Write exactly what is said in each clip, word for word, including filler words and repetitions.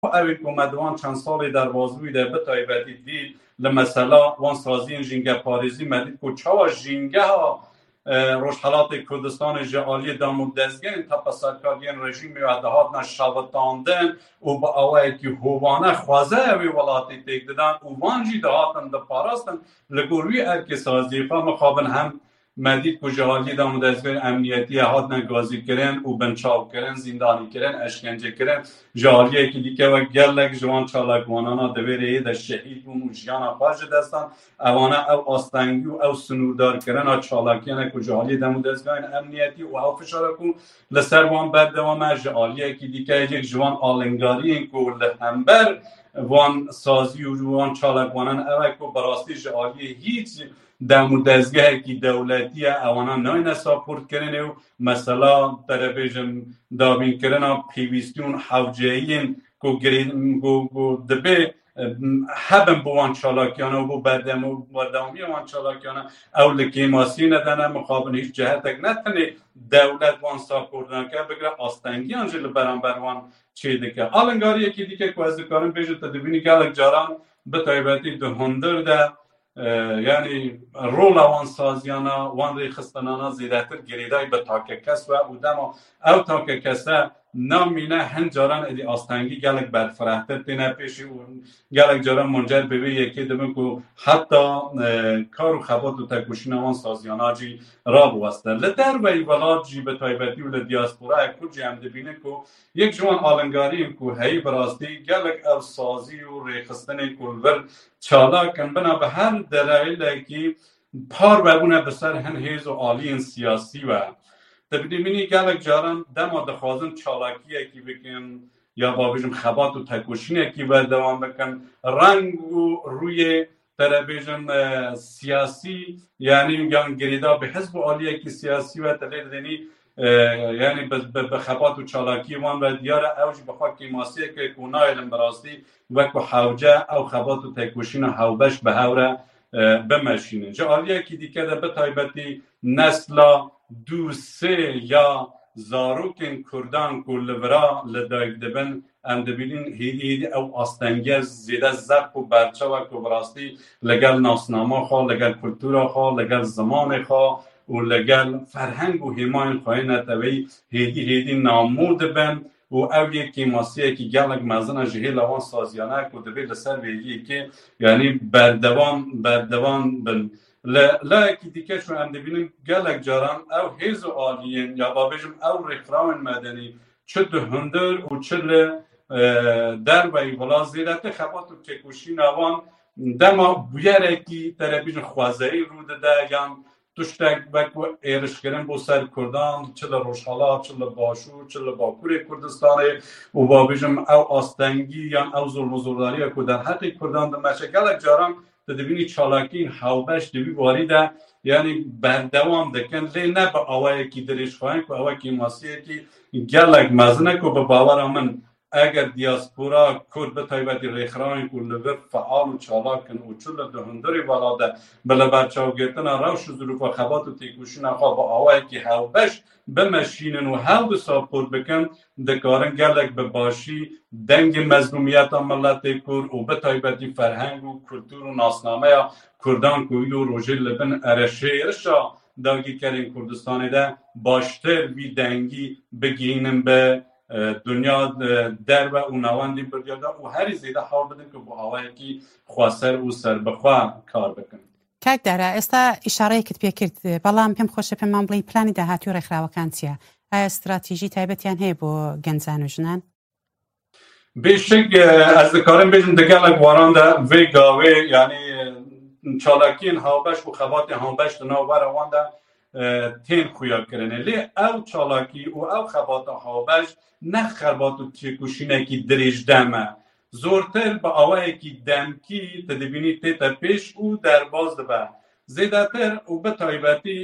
ew ê ku me di wan çend salê derbazbûyî de bi taybetî dî li mesela wan saziyên jîngeparêzî me dît ku çawa jîngeha, e, Rojhelatê Kurdistanê ji aliyê dam û dezgehên tepeserkar yên rejîmê ve dihatine şewitandin û bi awayekî hovane xwezaya wê welatî têk didan û van jî dihatin diparastin. Li gor wî erkê saziyê xwe mixabin hem me dît ku ji aliyê dam û dezgehên emniyetiyê hatine gazîkirin û binçavkirin, zîndanîkirin, eşkencekirin. Ji aliyekî dîke wek gelek ji wan çalakvanana di vê rêyê de şehîd bûn û jiyana xwe ji dest dan. Ewana ew astengî û ew sinûrdarkirina çalakiyane ku ji aliyê dem û dezgehên emniyetî û ew fişara ku li ser wan berdewam e, ji aliyekî dîke yek ji wan alingariyên ku li hember wan sazî û wan çalakvanan ew e ku bi rastî ji aliyê hîç dem û dezgehekî dewletî ye, ewana nayne saportkirinê û mesela te re bêjim dabînkirina pêwîstî û hewceyiyên ku girê-, ku, ku dibê, em, hebin bo wan çalakiyana û bo berdem-, berdewamiya wan çalakiyana ew li kêmasiyê nedene mixabin hîç cihetek ne tenê dewlet wan saport nake, bigire astengiyan jî li beramber wan çêdike. Alingariyekî dîke ku ez dikarim bêjim, te dibînî gelek caran bi taybetî di hundir de, e, yanî rola wan saziyana, wan rêxistinana zêdetir girêdayî bi takekes we û dema ew takekese namîne hin caran êdî astengî gelek berfirehtir têne pêşî û gelek caran muncer bi vê yekê dibin ku heta, e, kar û xebat û tekoşîna wan saziyana jî rabiweste. Li derveyî welat jî bi taybetî û li diasporaya Kurd jî em dibînin ku yek ji wan alingariyên ku heyî bi rastî gelek ev sazî û rêxistinên ku li vir çalak in, bina bi her derelekî parve bûne bi ser hin hêz û aliyên siyasî ve. Te bidîbînî gelek caran dema dixwazin çalakiyekî bikin ya babêjim xebat û tekoşînekî berdewam bikin, reng û rûyê te re bêjim, e, siyasî, yanî yan girêda bi hizb û aliyekî siyasî ve te lê didênî, e, yanî bi, bi, bi xebat û çalakiyê wan ve diyar e, ew jî bi xwe kêmasiyeke ku nayêlin bi rastî wek ku hewce ew xebat û tekoşîna hewbeş bi hev re, e, bimeşînin. Ji aliyekî dîke de bi taybetî nesla dû sê ya zarokên Kurdan ku li vira li dayik dibin, em dibînin hêdî hêdî ew astengiye zêde zeqf û berçav e ku bi rastî li gel nasnama xwe, li gel kultura xwe, li gel zimanê xwe û li gel ferheng û hêmayên xwe yê neteweyî hêdî hêdî namû dibin û ew yek kêmasiyekî gelek mezin e ji hêla wan saziyane ku divê li ser vê yekê, yanî berdewam, berdewam bin. Li layekî dîke şu em dibînin gelek caran ew hêz û aliyên ya babêjim ew rêxirawên medenî çi di hundir û çi li, e, derveyî vila zêdetir xebat û têkoşîna wan dema bûyerekî te re bêjin xwezayî rû dide yan tiştek wek êrişkirin bo ser Kurdan, çi li Rojhelat, çi li Başûr, çi li Bakurê Kurdistanê û babêjim ew astengî yan ew zulm û zordariya ku derheqê Kurdan dimeşe gelek caran tu dibînî çalakiyên hewbeş di vî warî de, yanî berdewam dikin, lê ne bi awayekî dirêjxayin ku ew kêmasiyekî gelek mezin e ku bi bawera min eger diaspora Kurd bi taybetî rêxirawên ku li vir feal û çalak in û çi li di hundirê welat de bi li berçavgirtina rewş û zirûfa xebat û têkoşîna xwe bi awayekî hewbeş bimeşînin û hewl bi saport bikin, dikarin gelek bi başî dengê mezlûmiyeta miletê Kurd û bi taybetî ferheng û kultur û nasnameya Kurdan ku îro rojê li bin ereşêrişa dagirkerên Kurdistanê de baştir vî dengî bigihînin bi, e, dinya, e, derve û navendî biryar de û herî zêde hewl bidin ku bi awayekî xweser û serbixwe kar bikin. کاک دارا، ئێستا ئیشارەیەکت پێکرد، بەڵام پێم خۆشە پێمان بڵێی پلانی داهاتووی ڕێکخراوەکان چییە؟ ئایا استراتیژی تایبەتیان هەیە بۆ گەنجان و ژنان؟ Bêşik, e, ez dikarim bêjim di gelek waran de vê gavê, yanî, e, çalakiyên hawbeş û xebatên hawbeş di nav were wan de, e, tên xuyakirinê. Lê ew çalakî û ew xebata hawbeş ne xebat û têkoşînekî dirêj dem e. Zortir bi awayekî demkî tu dibînî tête pêş û derbas dibe. Zêdetir û bi taybetî,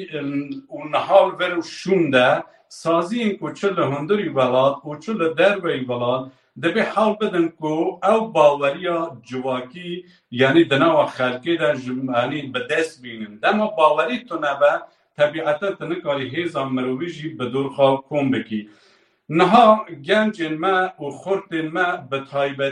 û niha li vir û şûn de saziyên ku çi li hundirî welat û çi li derveyî welat dibê hewl bidin ku ew baweriya civakî, yanî di nava xelkê de ji, yanî bi dest bînin. Dema bawerî tune be, tebîeten tu nikarî hêza mirovî jî bi dor xwe kom bikî. Niha gencên me û xortên me bi taybet